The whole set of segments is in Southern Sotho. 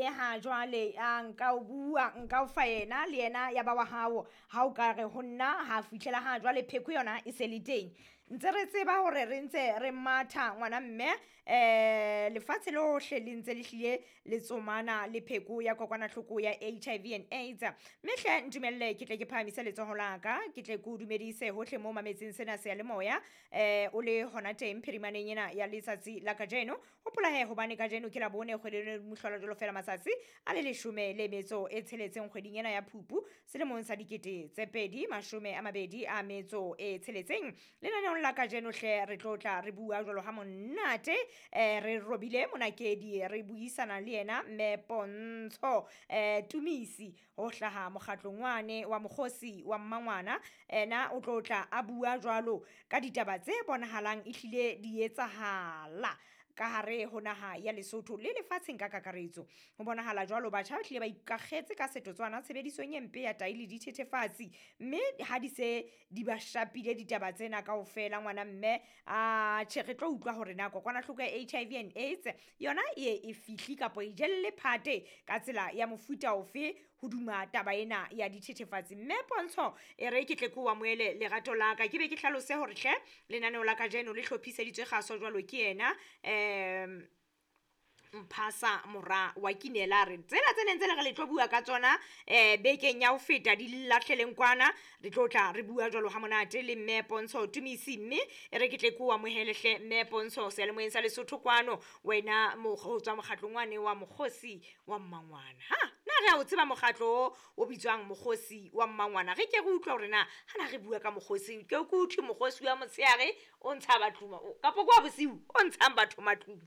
Ha jwale a nka o bua, nka o fa yena le yena ya ba wa hao. Ha o ka re ho nna ha fihlela ha jwale pheko yona e se le teng. Ntse re tseba hore re ntse re matha ngwana mme, lefatshe lohle le ntse le hlile le tsomana le pheko ya kokwanahloko ya HIV and AIDS. Mme hle ntumelle ke tle ke phahamise letsoho la ka, ke tle ke o dumedise hohle mo mametseng sena seyalemoya, o le hona teng phirimaneng ena ya letsatsi la kajeno. Hopola he hobane kajeno ke Labone kgwedi eno mohlola jwalo fela matsatsi a le leshome le metso e tsheletseng kgweding ena ya Phupu selemong sa 2026. Lenaneong la kajeno hle re tlo tla re bua jwalo ha monate, re robile monakedi re buisana le yena mme Pontsho Tumisi ho hlaha mokgatlong wane wa mokgosi wa mmangwana. Ena o tlo tla a bua jwalo ka ditaba tse bonahalang ehlile di etsahala ka hare ho naha ya Lesotho le lefatsheng ka kakaretso. Ho bonahala jwalo batjha ba hlile ba ikakgetse ka setotswana tshebedisong e mpe ya tai le dithethefatsi, mme ha di se di ba shapile ditaba tsena kaofela ngwana mme, a tjhe re tlo utlwa hore na kokwanahloko ya HIV and AIDS yona e ye e fihli kapo e jelle phate ka tsela ya mofuta ofe hoduma taba ena ya dithethefatsi. Mme Pontsho e re ke tle ke o amohele lerato la ka, ke be ke hlalose hore hle lenaneo la kajeno le hlophiseditswe kgaso jwalo ke yena Mphasa mora wa Kinela. Re tsena tse neng tse le re le tlo bua ka tsona bekeng ya ho feta di lahleleng kwana, re tlo tla re bua jwalo ha monate le mme Pontsho Tumisi. Mme e re ke tle ke o amohele hle mme Pontsho seyalemoyeng sa Lesotho kwano, wena ho tswa mokgatlong wane wa mokgosi wa mmangwana. Ha na re a o tseba mokgatlo o o bitswang mokgosi wa mmangwana? Re ke re utlwa hore na ha na re bua ka mokgosi, ke ke uthwe mokgosi wa motshehare o ntsha batho kapo kwa bosiu o ntshang batho matlung.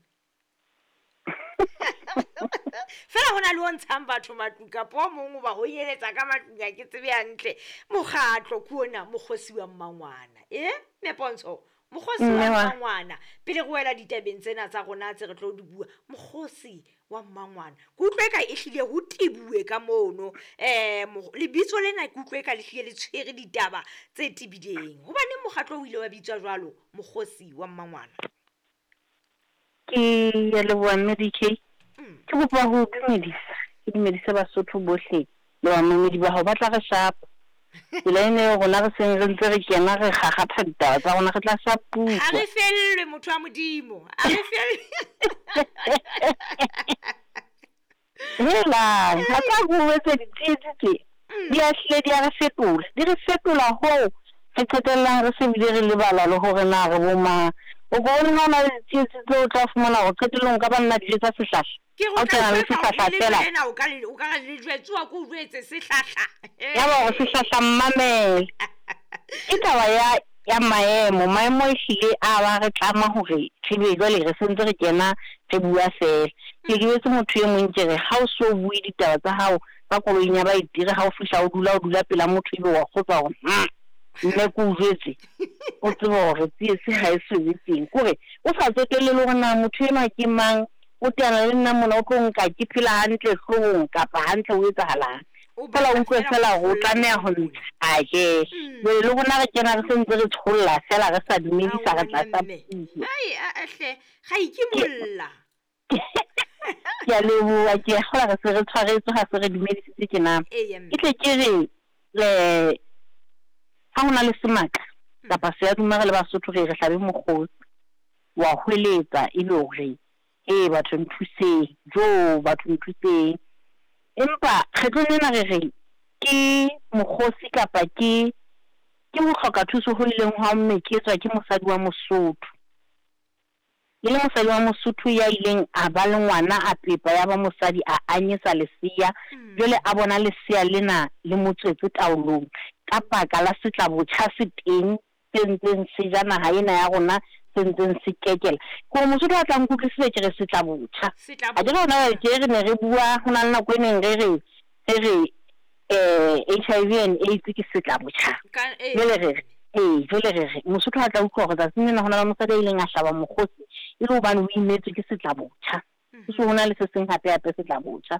Fela hona le o ntshang batho matlung kapo o mong o ba honyeletsa ka matlung, ha ke tsebe hantle. Mokgatlo ke ona mokgosi wa mmangwana. Mme Pontsho, mokgosi wa mmangwana, pele re wela ditabeng tsena tsa rona tse re tlo di bua, mokgosi wa mmangwana ke utlwe ka e hlile ho tebuwe ka mono. Lebitso lena ke utlwe ka le hlile le tshwere ditaba tse tebileng. Hobaneng mokgatlo o ile wa bitswa jwalo mokgosi wa mmangwana? Ke ya leboha mme DK. Ke kopa ho dumedisa, ke dumedise Basotho bohle le bamamedi ba hao ba tla re shapa. Tsela ena eo rona re seng re ntse re kena re kgakgatha ditaba tsa rona, re tla shapuwa. Ha re fellwe motho wa Modimo, ha re fellwe. Helang, ha tla go etsa ditsietsi tse di a hlile di a re fetola, di re fetola hoo re qetellang re se bile re lebala le hore na re bo mang. O ko bone ha o na le ditsietsi tseo o tla fumana hore qetellong o ka ba nna dijo tsa sehlahla. Ke Ha o kena le sehlahla fela. Lena o ka le, o ka re le jwetsuwa ke o jwetse sehlahla. Ya ba hore sehlahla mmamele. Ke taba ya maemo, maemo e hlile a ba re tlama hore re be jwale re sentse re kena re bua fela. Ke jwetse motho e mong ke re ha o so bue ditaba tsa hao ka koloing ya baeti, re ha o fihla o dula, o dula pela motho ebe wa kgotsa hore mme ke o jwetse, o tsebe hore tsietsi ha e so be teng. Ke hore o sa tsotelle le hore na motho enwa ke mang, o teana le nna mona o tlo nka ke phela hantle hloohong kapa hantle o etsahalang. Fela o utlwe fela hore o tlameha ho ntsha ke. Jwale le rona re kena re sentse re tsholla fela re sa dumedisa re tla sa puo. Ai, a hle, ga ikimolla. Ke a leboha, ke a kgolwa re se re tshwaretswe ha se re dumedisitse tjena. Ke tle ke re, ha hona le semaka kapa seaduma re le Basotho re re hlabe mokgosi, wa hweletsa e le hore ee batho nthuseng, jo batho nthuseng. Empa kgetlong lena re re ke mokgosi kapa ke ho hloka thuso ho ileng hwa meketswa ke mosadi wa Mosotho. E le mosadi wa Mosotho ya ileng a ba le ngwana a pepa ya ba mosadi a anyesa lesea, jwale a bona lesea lena le mo tswetse taolong ka baka la setlabotjha se teng se ntseng se ja naha ena ya rona, se ntseng se kekela. Ke hore Mosotho a tla nkutlwisisa ke re setlabotjha. Ha ke re hona jwale tje re ne re bua, ho na le nako e neng re re HIV and AIDS ke setlabotjha. Jwale re re jwale re re Mosotho a tla utlwa hore tsatsing lena ho na le mosadi a ileng a hlaba mokgosi e le hobane o imetswe ke setlabotjha. Ho se ho na le se seng hape hape setlabotjha.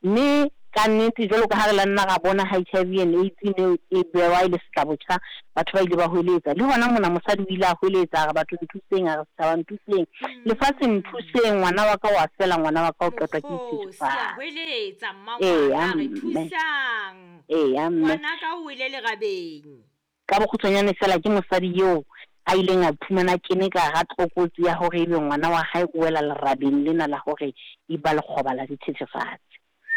Mme Ka nnete, jwalo ka ha re la nna ra bona HIV and AIDS e ne e bewa e le setlabotjha, batho ba ile ba hweletsa. Le hona mona mosadi o ile a hweletsa, a re batho nthuseng, a re setjhaba nthuseng, lefatshe nthuseng, ngwana wa ka wa fela, ngwana wa ka o qetwa ke Mokgosi a dithethefatsi. hweletsa Eya mmangwana, re mme. thusang. Eya mme. Ngwana ka o wele lerabeng. Ka bokgutshwanyane fela ke mosadi eo a ileng a iphumana a kene ka hara tlokotsi ya hore ebe ngwana wa hae o wela lerabeng lena la hore e ba lekgoba la dithethefatsi.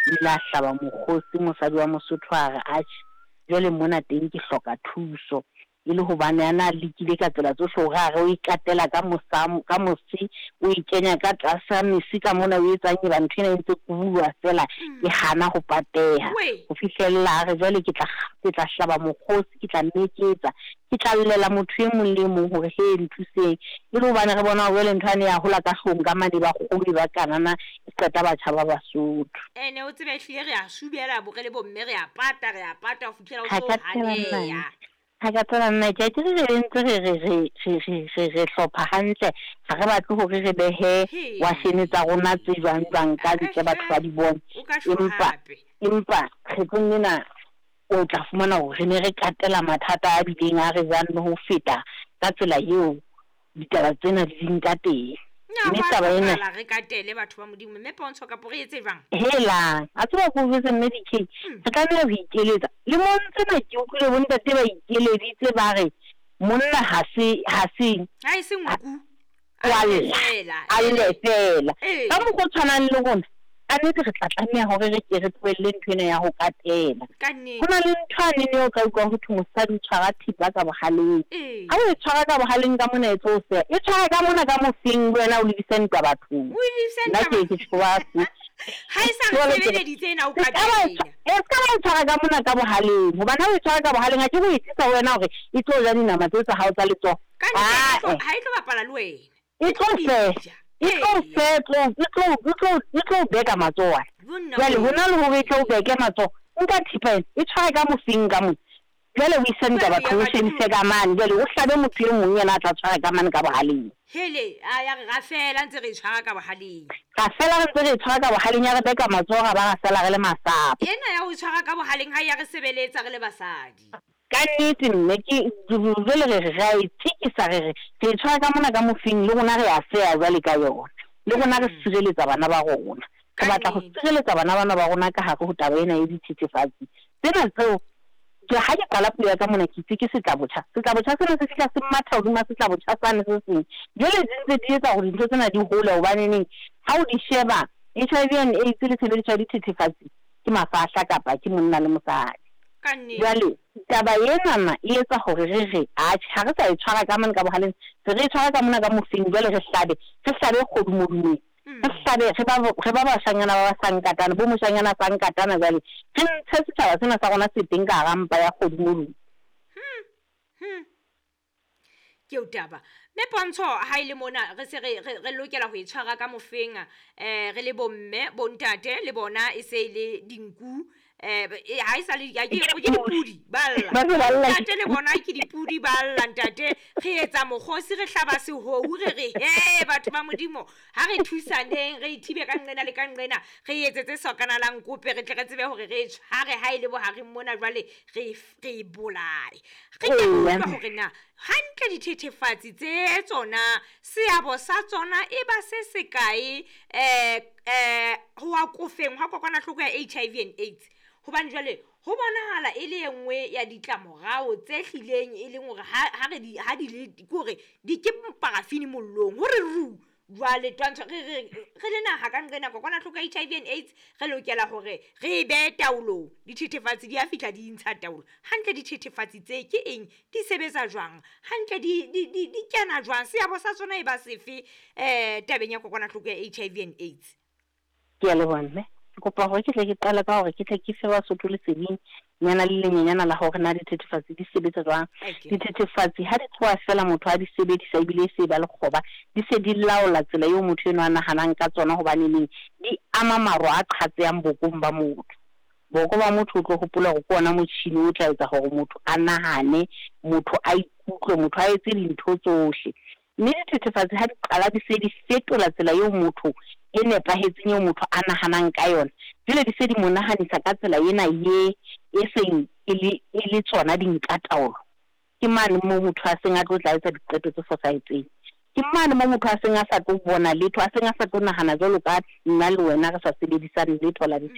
O ile a hlaba mokgosi mosadi wa Mosotho a re, Atjhe, jwale mona teng ke hloka thuso. E le hobane a na lekile ka tsela tsohle hore a re o e katela ka mosa, ka mose, o e kenya ka tlasa mese ka mona, o etsang eba ntho ena e ntse kubulwa feela e hana ho pateha. Wee. Ho fihlella a re jwale ke tla, ke tla hlaba mokgosi, ke tla meketsa, ke tla llela motho e mong le e mong hore he nthuseng. E le hobane re bona hore jwale ntho yane ya hola ka hloohong ka mane ba kgolo e ba kanana e qeta batjha ba Basotho. Ene o tsebe ehlile re a subela bo re le bomme re a pata, re a pata ho fihlela o Ha so ka tseba nna. haneya. Ha ka tseba nna ke a ke re re ntse re re re re re re re hlopha hantle, ha re batle hore re behe He. washene tsa rona tse jwang jwang ka ntle batho ba di bone. O ka shwa Empa hape. empa kgetlong lena o tla fumana hore re ne re katela mathata a bileng a re jang le ho feta ka tsela eo ditaba tsena di leng ka teng. Na Mme hwa taba ena hlokahala re katele batho ba Modimo, mme Pontsho kapo re etse jwang? Helang, a tseba ko jwetse mme DK, re tlameha ho ikeletsa. Lemong tsena ke utlwile bontate ba ikeleditse ba re monna ha se ha se Ha e se nku. wa A lle lla, fela. a lle fela. Ee. Ka mokgwa o tshwanang le rona, ka nnete re tla tlameha hore re ke re tlohelle ntho ena ya ho katela. Ka nnete. Ho na le ntho yane eo ka utlwang ho thwe mosadi o tshwara thipa ka bohaleng. Ee. Ha o e tshwara ka bohaleng ka mona e tlo o seha. E tshwara ka mona ka mofeng le wena o lebise ntwa bathong. O lebise Nna ntwa ke ke tjho ba se. Ha e sa re Jwale ke re, sebeleditse ena o se ka ba e katela. se ka ba e tshwara ka mona ka bohaleng. Hobane ha o e tshwara ka bohaleng, ha ke ho e tlisa ho wena hore e tlo ja dinama tseo tsa hao tsa letsoho. Ka nnete ha e tlo Ah, ha e tlo bapala le wena. E tlo E feha. ja. E tlo Eya. feha, e tlo beka matsoho ana. Bonna Jwale wee. hona le hore e tlo beke matsoho, nka thipa ena, e tshware ka mofeng ka mona. Jwale o ise ntwa Jwale bathong, ya o shebise batho. ka mane. Jwale o hlabe motho e mong yena a tla tshwara ka mane ka bohaleng. Hele, a ya re ra fela ntse re e tshwara ka bohaleng. Ra fela re ntse re e tshwara ka bohaleng, ya re beka matsoho ra ba ra sala re le masapo. Ena ya ho tshwara ka bohaleng ha ya re sebeletsa re le basadi. Ka nnete mme ke jwale re re ra e tjekisa re re re e tshwara ka mona ka mofeng le rona re a seha jwale ka yona. Le rona re sireletsa bana ba rona. Ka Re batla ho nnete. sireletsa bana bana ba rona ka hare ho taba ena ya dithethefatsi. Tsena tseo ke ha ke qala puo ya ka mona ke itse ke setlabotjha. Setlabotjha sena se fihla se matha hodima setlabotjha sane se seng. Jwale di ntse di etsa hore dintho tsena di hole hobaneneng ha o di sheba HIV and AIDS le tshebediso ya dithethefatsi ke mafahla kapa ke monna le mosadi. Ka nnete. Jwale taba enana e etsa hore re re atjhe ha re sa e tshwara ka mane ka bohaleng, se re e tshwara ka mona ka mofeng jwale re hlabe, re hlabe kgodumodumong. Re hlabe re ba bashanyana ba ba sa nkatana, bo moshanyana sa nkatana jwale. Re ntshe setjhaba sena sa rona se teng ka hara mpa ya kgodumodumo. Ke eo taba. Mme Pontsho ha ile mona re se re re lokela ho e tshwara ka mofeng, re le bomme, bontate le bona e se e le dinku. Ha e sa le ke dipudi ba lla. Ba se ba lla. Ntate le bona ke dipudi ba lla ntate. Re etsa mokgosi re hlaba sehohu re re he batho ba Modimo ha re thusaneng re ithibe ka nqena le ka nqena re etsetse sokana la nkope re tle re tsebe hore re e tshware ha e le bohareng mona jwale re e bolaye. Re ke Eya. utlwa hore na hantle dithethefatsi tse tsona seabo sa tsona e ba se sekae ho akofeng hwa kokwanahloko ya HIV and AIDS. Hobane jwale ho bonahala e le e nngwe ya ditlamorao tse hlileng e leng hore ha re di ha di le ke hore di ke parafini mollong hore ru jwale twantsho re re re le naha ka nqena kokwanahloko ya HIV and AIDS re lokela hore re e behe taolong. Dithethefatsi di a fihla di intsha taolo. Hantle dithethefatsi tse ke eng, di sebetsa jwang, hantle di kena jwang, seabo sa tsona e ba sefe tabeng ya kokwanahloko ya HIV and AIDS? Ke a leboha mme. Ke kopa hore ke tle ke qale ka hore ke tle ke fe Basotho leseding nyana le lenyenyana la hore na dithethefatsi di sebetsa jwang. Dithethefatsi ha di tloha fela motho a di sebedisa ebile e se ba lekgoba, di se di laola tsela eo motho enwa a nahanang ka tsona hobaneneng di ama maro a qhatsehang bokong ba motho. Boko ba motho o tlo hopola hore ke ona motjhini o tla etsa hore motho a nahane, motho a ikutlwe, motho a etse dintho tsohle. Mme dithethefatsi ha di qala di se di fetola tsela eo motho e nepahetseng eo motho a nahanang ka yona. Jwale di se di mo nahanisa ka tsela ena ye e seng e le e le tsona di nka taolo. Ke mane moo motho a seng a tlo tla etsa diqeto tse fosahetseng. Ke mane moo motho a seng a sa tlo bona letho, a seng a sa tlo nahana jwalo ka nna le wena re sa sebedisang letho la dithethefatsi.